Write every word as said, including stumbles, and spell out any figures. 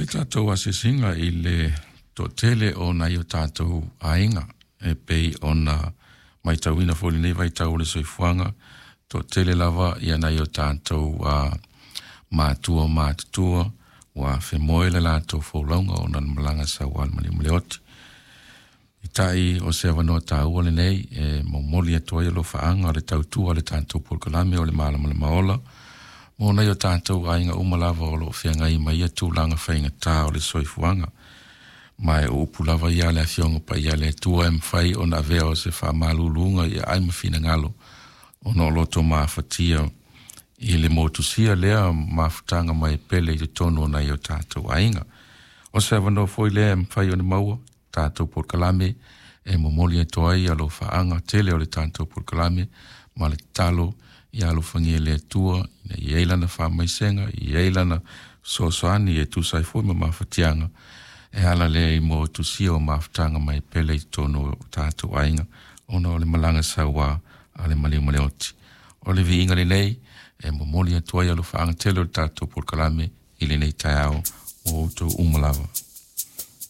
le tatou asiasiga i le toatele o nai o tatou aiga e pei ona matauina foi i lenei vaitau o le soifuaga, toatele lava ia nai o tatou uh, matua matutua ua femoe le latou folauga ona le malaga sauā le maliu ma le oti. Peitai o se avanoa taua lenei e momoli atu ai alofaaga o le tautua a le tatou polokalame o le Malamalama Ola mo nai o tatou aiga uma lava o loo feagai ma ia tulaga faigata o le soifuaga. Ma e o upu lava ia a le Afioga Paia a le Atua e mafai ona avea o se faamaluluga ia ai ma finagalo ona o loto mafatia i le motusia lea mafutaga mai pele i totonu o nai o tatou aiga. O se avanoa foi lea e mafai ona maua tatou polokalame e momoli atu ai alofaaga tele o le tatou polokalame ma le tatalo ia alofagia e le Atua ina ia i ai lana faamaisega, ia i ai lana fesoasoani e tusa ai foi ma mafatiaga e ala lea i motusia o mafutaga mai pele i totonu o tatou aiga ona o le malaga sauā a le maliu ma le oti. O le viiga lenei e momoli atu ai alofaaga tele o le tatou polokalame i lenei taeao mo outou uma lava.